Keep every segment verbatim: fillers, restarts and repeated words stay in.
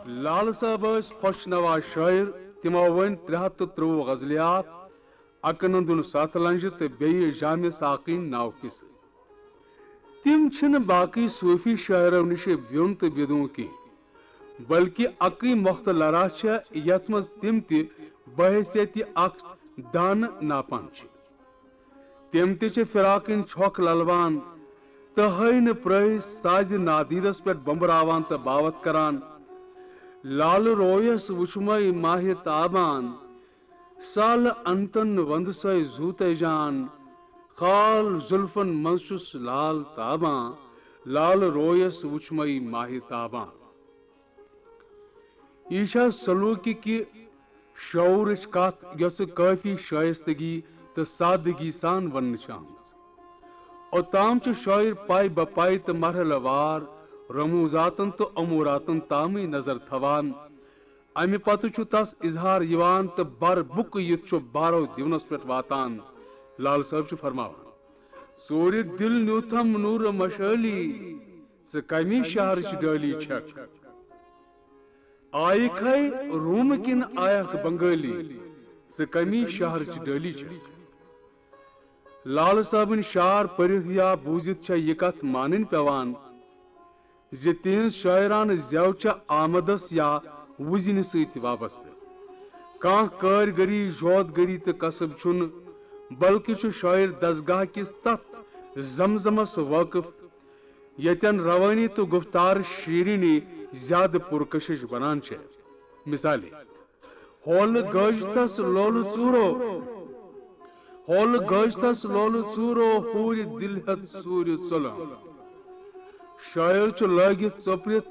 لال صٲب ٲسۍ خۄش نوا شٲعر۔ تِمو ؤنۍ ترٛےٚ ہَتھ تہٕ ترٛۆوُہ غزلیات، اکہٕ نندُن ستھ لنجہِ تہٕ بیٚیہِ جامع ساقین ناو قصہٕ۔ تِم چھِنہٕ باقٕے صوٗفی شٲعرو نِش بیوٚن تہٕ بیدوٗن کینٛہہ، بلکہِ اکٕے مۄختہٕ لرا چھےٚ، یتھ منٛز تِم تہِ بحیثیت اکھ دانہٕ ناپان چھِ۔ تِم تہِ چھِ فراقٕنۍ چھۄکھ للوان تہٕ ہٲینہٕ پرٛٲہۍ سازِ نادیدس پٮ۪ٹھ بۄمبراوان تہٕ باوتھ کران۔ لالہٕ رویس وُچھمے ماہِ تابان، سالہٕ انتن وندسے زوٗتے جان، خال زُلفن منٛز چھُس لال تابان، لالہٕ رویس وُچھمے ماہِ تابان۔ یہِ چھےٚ سلوٗکہِ کہِ شعوٗرٕچ کتھ، یۄسہٕ کٲفی شائستگی تہٕ سادگی سان وننہٕ چھِ آمٕژ۔ اوٚتام چھُ شٲعر پاے بہ پاے تہٕ مرحلہٕ وار رموٗزاتن تہٕ اموٗراتن تامٕے نظر تھاوان۔ امہِ پتہٕ چھُ تس اظہار یِوان تہٕ بر بُکہٕ یِتھ چھُ بارو دیونس پٮ۪ٹھ واتان۔ لال صٲب چھُ فرماوان، ژوٗرِ دِل نیوٗتھم نوٗرٕ مشٲلی، ژٕ کمی شہرٕچ ڈٲلی چھکھ؟ آیکھے رومہٕ کِنہٕ آیکھ بنگٲلی، ژٕ کمی شہرٕچ ڈٲلی چھکھ؟ لال صٲبٕنۍ شعر پٔرِتھ یا بوٗزِتھ چھےٚ یہِ کتھ مانٕنۍ پٮ۪وان زِ تِہنٛز شٲعرانہٕ زٮ۪و چھےٚ آمدس یا وُزنہِ سۭتۍ وابستہٕ۔ کانٛہہ کٲرۍ گٔری، جوت گٔری تہٕ کسب چھُنہٕ، بلکہِ چھُ شٲعر دستگاہ کِس تتھ زمزمس وٲقف، ییٚتٮ۪ن روٲنی تہٕ گفتار شیرینی زیادٕ پرکشش بنان چھےٚ۔ مثالے، ہولہٕ گٲجتس لولہٕ ژوٗرو، ہولہٕ گٲجتس لولہٕ ژوٗرو، حوٗرِ دِل ہٮ۪تھ ژوٗرِ ژۄلان۔ شٲعر چھُ لٲگِتھ ژوپرِتھ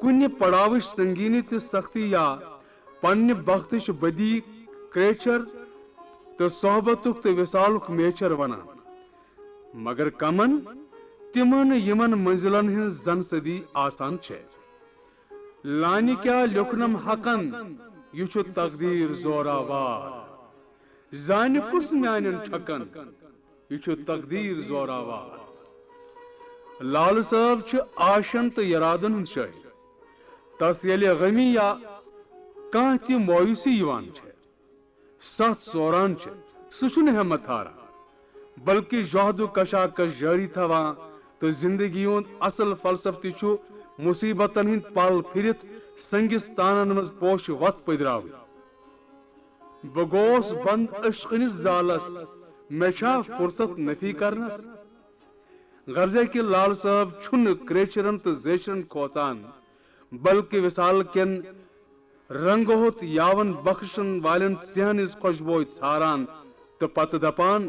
کُنہِ پڑاوٕچ سنگینی تہٕ سختی یا پننہِ بختٕچ بدی کریچھر تہٕ صحبتُک تہٕ وصالُک میچھر ونان۔ مگر کمن؟ تِمن، یِمن منزلن ہٕنز زن صدی آسان چھےٚ۔ لانہِ کیٛاہ لیوکھنم حقن، یہِ چھُ تقدیر زوراوار۔ زانہِ کُس میانٮ۪ن چھکن، یہِ چھُ تقدیر زوراوار۔ لالہٕ صٲب چھِ آشن تہٕ یرادن ہُنٛد شٲعر۔ تس ییٚلہِ غمی یا کانٛہہ تہِ مایوسی یِوان چھےٚ، ستھ سوران چھِ، سُہ چھُنہٕ ہمت ہاران، بلکہِ جہد و کشاکش جٲری تھاوان تہٕ زندگی ہُنٛد اصل فلسفہٕ تہِ چھُ مصیبتن ہٕنٛدۍ پل پھِرِتھ سنگس تانن منٛز پوشہٕ وتھ پٔدراوٕنۍ۔ بہٕ گوس بند عشقٕنِس زالس، مےٚ چھا فرصت نفی کرنس؟ غرضے کہِ لال صٲب چھُنہٕ کریچھرن تہٕ زیچھرن کھوژان، بلکہِ وصال کٮ۪ن رنگہٕ ہوٚت یاون بخشن والٮ۪ن ژیہن ہٕنٛز خۄشبوے ژھاران تہٕ پتہٕ دپان،